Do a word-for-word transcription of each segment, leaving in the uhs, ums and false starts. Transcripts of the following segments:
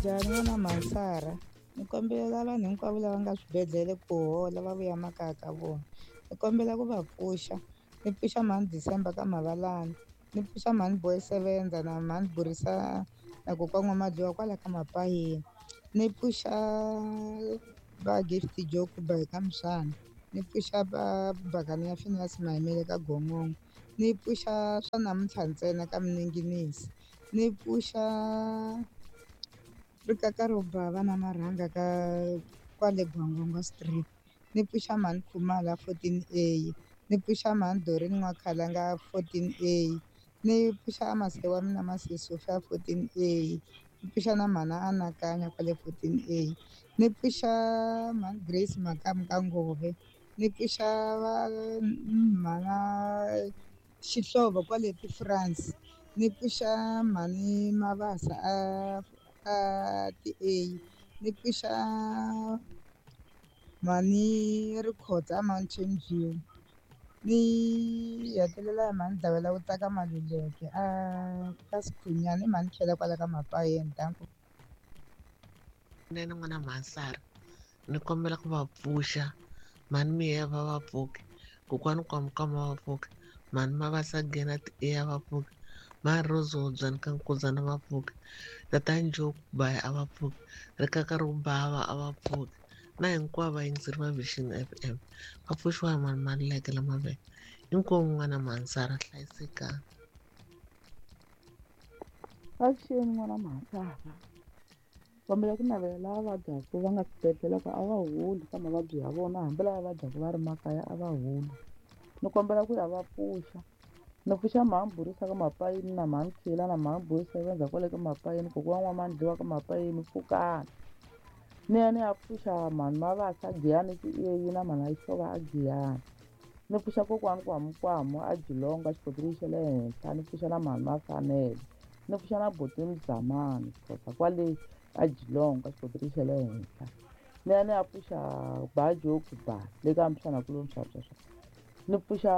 Minjhani n'wana Mhansara? Ni kombela vanhu hinkwavo lava nga swibedhlele ku hola va vuya makaya ka vona. Ni kombela ku va pfuxa ni pfuxa mhani December ka Mavalani ni pfuxa mhani Boy Sevenza na mhani Burisa na kokwana N'wa-Madluwa kwala ka Mapayeni ni pfuxa va Gift Joke ba hi ka Mshana ni pfuxa va Bakani ya Phineas Mayimele ka Gongongo ni pfuxa swa namuntlha ntsena ka Mninginisi ni pfuxa rikaka ro bava na marhanga ka kwale Gwangwangwa street ni pfuxa mhani Khumalo a fourteen A ni pfuxa mhani Doreen N'wakhalanga fourteen A ni pfuxa mase wa mina Mase Sophia fourteen A ni pfuxa na mhani Anakanya kwale fourteen A ni pfuxa mhani Grace Makamu ka Ngove ni pfuxa va mhana Xihlovo kwale ti-France ni pfuxa mhani Mabasa a a ti-A ni pfuxa mhani Rikhotso a Mountain View ni hetelela hi mhani Dlawela wu ta ka Maluleke a ka Sikhunyani i mhani tlhela kwala ka Mapayeni danko. Nene n'wana Mhansara ni kombela ku va pfuxa mhani Miyeva va pfuki kokwani Kwamkwama va pfuki mhani Mabasa Gena ti a va pfuki mhani Rose Hobyani ka Nkuzana va pfuki tatani Joe Baya a va pfuki rikaka ro bava a va pfuki na hinkwavo vayingiseri va Vision F M va pfuxiwa hi mhani Maluleke la Mavele inkomu n'wana Mhansara hlayisekani. Avuxeni n'wana Mhansara kombela ku navela lava vabyaka va nga swibedhlele ku a va holi ka mavabyi ya vona hambi lava vabyaka va ri makaya a va holi ni kombela ku ya va pfuxa ni pfuxa mhani Burisa ka Mapayeni na mhani Khela na mhani Boy Sevenza kwale ka Mapayeni kokwana N'wa-Mandliwa ka Mapayeni pfukani ni ya ni ya pfuxa mhani Mabasa Giyani ti-A na mhani Xihlovo a Giyani ni pfuxa kokwani Kwamukwamu a Jilongo a xikoteleni xa le henhla ni pfuxa na mhani Mafanele ni pfuxa na buti Mzamani Xhosa kwale a Jilongo a xikoteleni xa le henhla ni ya ni ya pfuxa ba Joke ba le ka Mshana kulo Mxaxaxa ni pfuxa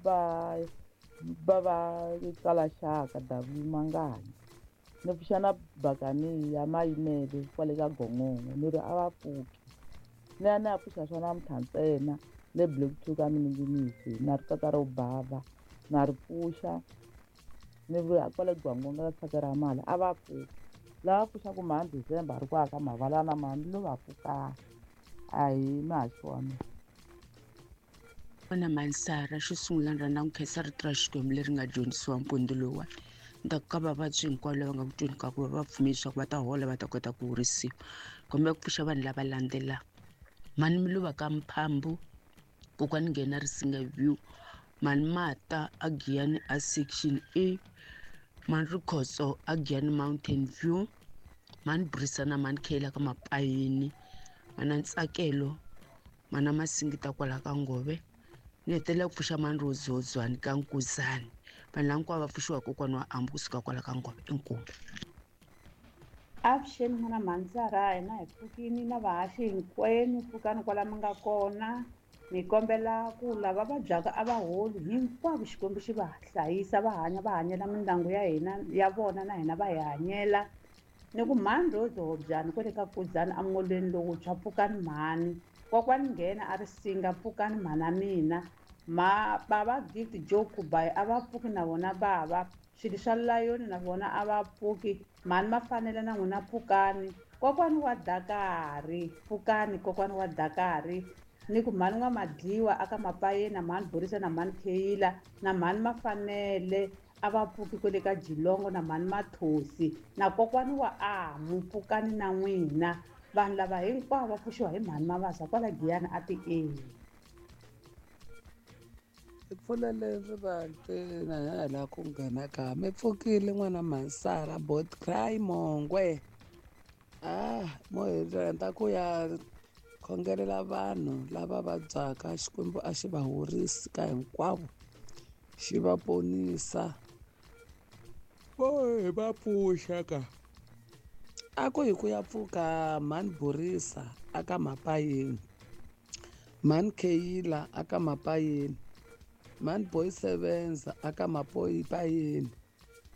ba ba va Kalaxaka W Mangani ni pfuxa na Bakani ya Mayimele kwale ka Gongongo ni ri a va pfuki ni ya ni ya pfuxa swa namuntlha ntsena le Black Two ka Mninginisi na rikaka ro bava na ri pfuxa ni vuya kwale Gwangwanga ka tshaka ra mali a va pfuki lava pfuxaku mhani December ri kwala ka Mavalana mhani lo va pfukani a hi muhaxi wa mina. N'wana Mhansara xo sungula ni rhandza ku khensa rito ra Xikwembu leri nga dyondzisiwa mpundzu lowuwani ni ta ku ka vavabyi hinkwavo lava nga ku tweni ka ku va va pfumeli leswaku va ta hola va ta kota ku horisiwa kombela ku pfuxa vanhu lava landzelaka mhani Miluva ka Mphambu kokwani Nghena Risinga View mhani Mata a Giyani a section A mhani Rikhotso a Giyani Mountain View mhani Burisa na mhani Khela ka Mapayeni mhana Ntsakelo mhana Masingita kwala ka Ngove ni hetelela ku pfuxa mhani Rose Hobyani ka Nkuzani vanhu lava hinkwavo va pfuxiwa kokwana wa Ambu kusuka kwala ka Ngove inkomu. Avuxeni n'wana Mhansara hina hi pfukini na vahaxi hinkwenu pfukani kwala mi nga kona ni kombela ku lava vabyaka a va holi hinkwavo Xikwembu xi va hlayisa va hanya va hanyela mindyangu ya hina ya vona na hina va hi hanyela ni ku mhani Rose Hobyani kwale ka Kuzani emolweni lowuntshwa pfukani mhani kokwani Nghena a ri singa pfukani mhana mina ma bava Gift Joe Kubayi a va pfuki na vona bava swilo swa layoni na vona a va pfuki mhani Mafanele na n'wina pfukani kokwani wa Dakari pfukani kokwani wa Dakari ni ku mhani N'wa-Madliwa aka Mapayeni na mhani Burisa na mhani Kheyila na mhani Mafanele a va pfuki kwale ka Jilongo na mhani Mathosi na kokwani wa Amu pfukani na n'wina vanhu lava hinkwavo va pfuxiwa hi mhani Mabasa kwala Giyani a ti-A. Hi pfulele rivanti na hina hi lava ku nghena kaya mi pfukile n'wana Mhansara bot cry Mongwe ah mo hi rhandza ku ya khongelela vanhu lava vabyaka Xikwembu a xi va horisi ka hinkwavo xi va ponisa vo hi va pfuxa ka a ku hi ku ya pfuka mhani Burisa aka Mapayeni mhani Kheyila aka Mapayeni mhani Boy Sevenza aka Mapayeni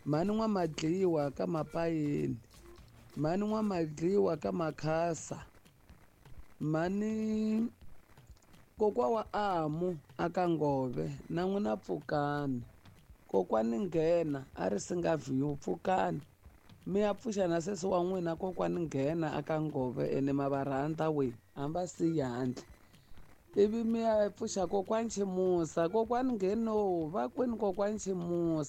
mhani N'wa-Madliwa ka Mapayeni Mhani N'wamadliwa ka Makhasa, mhani kokwa wa Amu aka Ngove na n'wina pfukani, kokwani Nghena a ri Singa View pfukani, mi ya pfuxa na sesi wa n'wina kokwani Nghena aka Ngove ene ma va rhandza we a va siyi handle. Ivi mi ya pfuxa kokwani Ximusa, kokwani Ngheno va kwini kokwani Ximusa.